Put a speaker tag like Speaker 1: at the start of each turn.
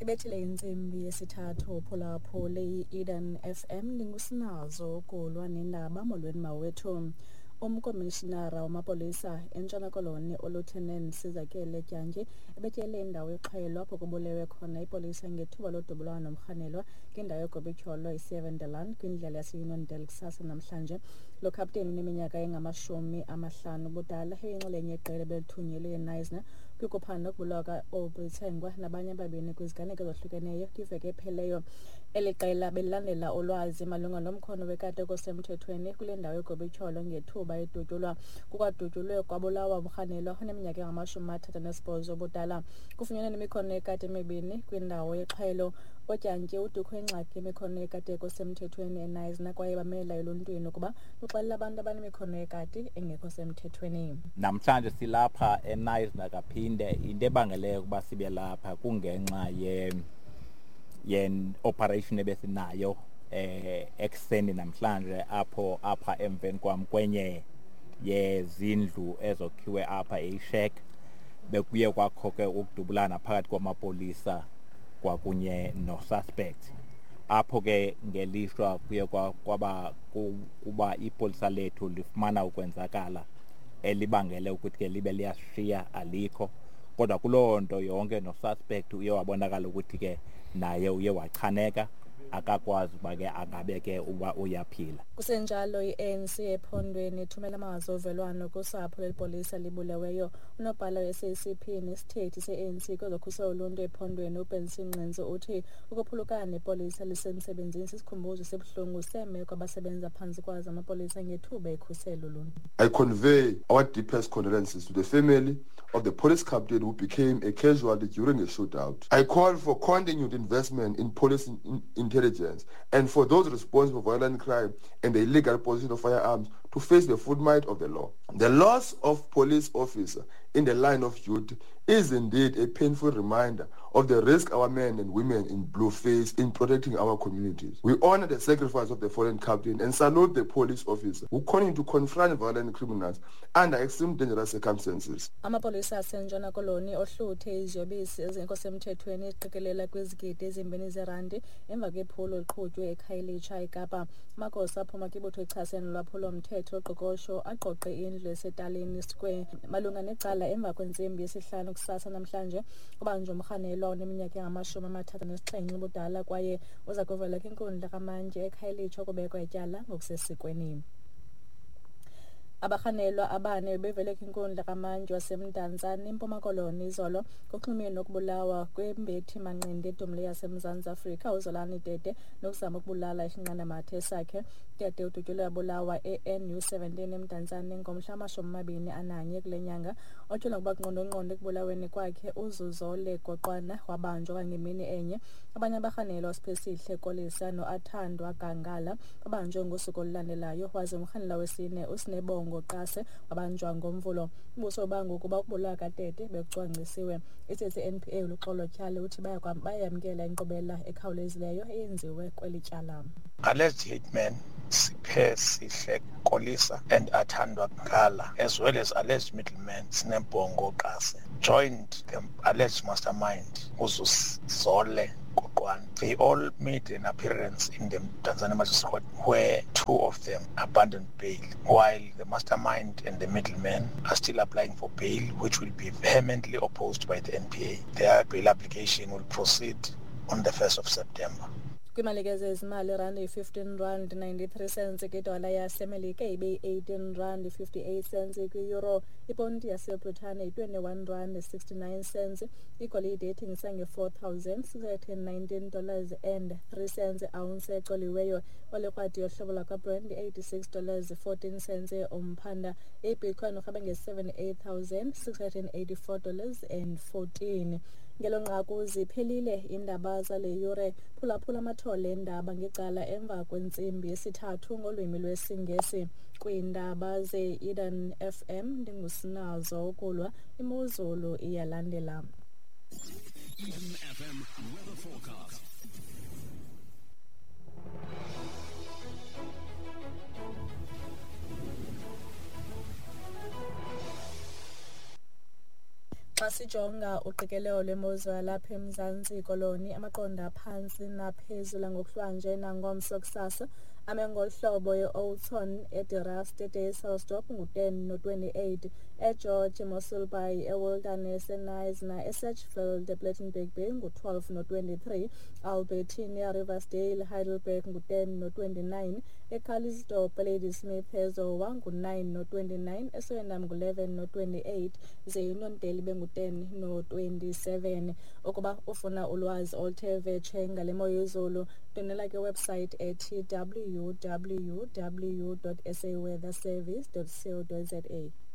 Speaker 1: Ibethile intsimbi yesithathu. Phulaphule i-Eden FM, ndingusinazo ukulwa nendaba. Molweni mawethu. Umkomishinara wamapolisa eNtshona Koloni uLieutenant Sizakele Dyantyi ebetyele indawo yexhwayelo apho kubulewe khona ipolisa ngethuba lodubulwano nomrhanelwa kwindawo yegobityholo iSevendeland kwindlela yaseUniondale kusasa namhlanje. Lo khapteni uneminyaka engama-50 ubudala eyinxalenye yeqela ebelithunyelwe eKnysna kwikuphanda ukubulawa ka-Aubrey Tsengwa nabanye ababini kwiziganeko ezohlukeneyo kwiveki epheleyo. Eli qela belilandela ulwazi malunga nomkhono wekati osemthethweni kule ndawo yegobityholo ngethuba edutyulwa. Kukwadutyulwe kwabulawa umrhanelwa oneminyaka engama-38 ubudala. Kufunyenwe nemikhono yekati emibini kwindawo yexhwayelo. UDyantyi uthi kukho ingxaki yemikhono yekati ekho semthethweni eKnysna kwaye bamela eluntwini ukuba luxelele abantu abanemikhono yekati engekho semthethweni.
Speaker 2: Namhlanje silapha eKnysna kaphinde. Into ebangeleyo ukuba sibe lapha kungenxa ye operation ebesinayo ekuseni namhlanje apho apha emveni kwam kwenye yezindlu ezokhiwe apha eyi-shack, bekuye kwakho ke ukudubulana phakathi kwamapolisa kwakunye no-suspect. Apho ke ngelishwa kuye kwaba kuba ipolisa lethu lifumana ukwenzakala elibangele ukuthi ke libe liyashiya, alikho. Kodwa kuloo nto yonke no-suspect uye wabonakala ukuthi ke naye uye wachaneka, akakwazi uba ke angabe ke uba uyaphila.
Speaker 1: Kusenjalo, i-ANC ephondweni ithumela amazwi ovelwano kusapho lelipolisa libuleweyo. Unobhala we-SACP nesithethi se-ANC kwezokhuselo loluntu ephondweni uBenson Nqentsu uthi ukuphulukana nepolisa lisemsebenzini sisikhumbuzo esibuhlungu seemeko abasebenza phantsi kwazo amapolisa ngethuba ekhusela uluntu.
Speaker 3: I convey our deepest condolences to the family of the police captain who became a casualty during a shootout. I call for continued investment in police intelligence and for those responsible for violent crime and the illegal possession of firearms to face the full might of the law. The loss of police officer in the line of duty is indeed a painful reminder of the risk our men and women in blue face in protecting our communities. We honor the sacrifice of the fallen captain and salute the police officer who continue to confront violent criminals under extreme dangerous circumstances.
Speaker 1: Amapolisa aseNtshona Koloni ohluthe iziyobisi ezingekho semthethweni eziqikelela kwizigidi 2 zerandi emva kwephulo liqhutywe eKhayelitsha eKapa. Amagosa aphuma kwibutho echasene nolwaphulo-mthetho oqoqosho aqoqe indlu eseTaleni Square malunga necala emva kwentsimbi yesihlanu kusasa namhlanje. Kubanjwe umrhanelwa oneminyaka engama-37 ubudala kwaye uza kuvela kwinkundla kamantyi eKhayelitsha ukubekwa ityala ngokusesikweni. Abarhanelwa abane bevele kwinkundla kamantyi waseMdantsane eMpuma Koloni izolo kuxhumene nokubulawa kwembethi manqindi edumileyo yaseMzantsi Afrika uZolani Tete nokuzama ukubulala isinqandamathe sakhe. Tete udutyulwe wabulawa e-NU 17 eMdantsane ngomhla wama-21 kule nyanga. Otyholwa ngokuba ngqondongqondo ekubulaweni kwakhe uZuzole Goqwana wabanjwa kwangemini enye. Abanye abarhanelwa uSiphesihle Kolisa noAthandwa Gangala babanjwe ngosuku olulandelayo, waze umrhanelwa wesine uSinebongo Qase wabanjwa ngoMvulo. Umbuso ubanga ukuba ukubulawa kaTete bekucwangcisiwe. Isithethi se-NPA uLuxolo Tyhali uthi bayamkela inkqubela ekhawulezileyo eyenziwe kweli tyala.
Speaker 4: Alleged hitman Siphesihle Kolisa and Athandwa Gala, as well as alleged middleman Sinebongo Qase, joined the alleged mastermind Uzuzole Goqwana. They all made an appearance in the Mdantsane Magistrate Court, where two of them abandoned bail, while the mastermind and the middleman are still applying for bail, which will be vehemently opposed by the NPA. Their bail application will proceed on the 1st of September.
Speaker 1: Kwimalike zezimali, irandi yi-15 rand 93 cents kwidola yaseMelika, ibe yi-18 rand 58 cents kwi-euro, iponti yaseBritane yi-21 rand 69 cents. Igolide ithengisa nge-$4,619 and 3 cents ounce ecoliweyo. Olikrwadi yohlobo lwakwaBrent i-86 dollars 14 cents umphanda. Ibitcoin urhabe nge-$78,684 and 14. Ngelo nqaku ziphelile iindaba zale yure. Phulaphula amathole eendaba ngecala emva kwentsimbi yesithathu ngolwimi lwesiNgesi. Kwiindaba ze-Eden FM ndingusinazo ukulwa. Imozulu iyalandela.
Speaker 5: Eden FM weather forecast.
Speaker 1: Xa sijonga uqikelelo lwemozulu yalapha eMzantsi Koloni, amaqondo aphantsi naphezulu ngokuhlwanje nangomso kusasa ame ngolu hlobo: e-Oudtshoorn, eDe-Rust, eDysselsdorp ngu-10 no-28, eGeorge, eMossel Bay, eWilderness, eKnysna, eSedgefield, ePlettenberg Bay ngu-12 no-23, Albertina, Riversdale, Heidelberg ngu-10 no-29, eCalitzdorp, eLadysmith, eZowa ngu-9 no-29, eSwellendam ngu-11 no-28, ze iNonteli bengu-10 no-27. Ukuba ufuna ulwazi oluthe vetshe ngale mo yezulu, ndwendwela ke website ethi www.saweatherservice.co.za.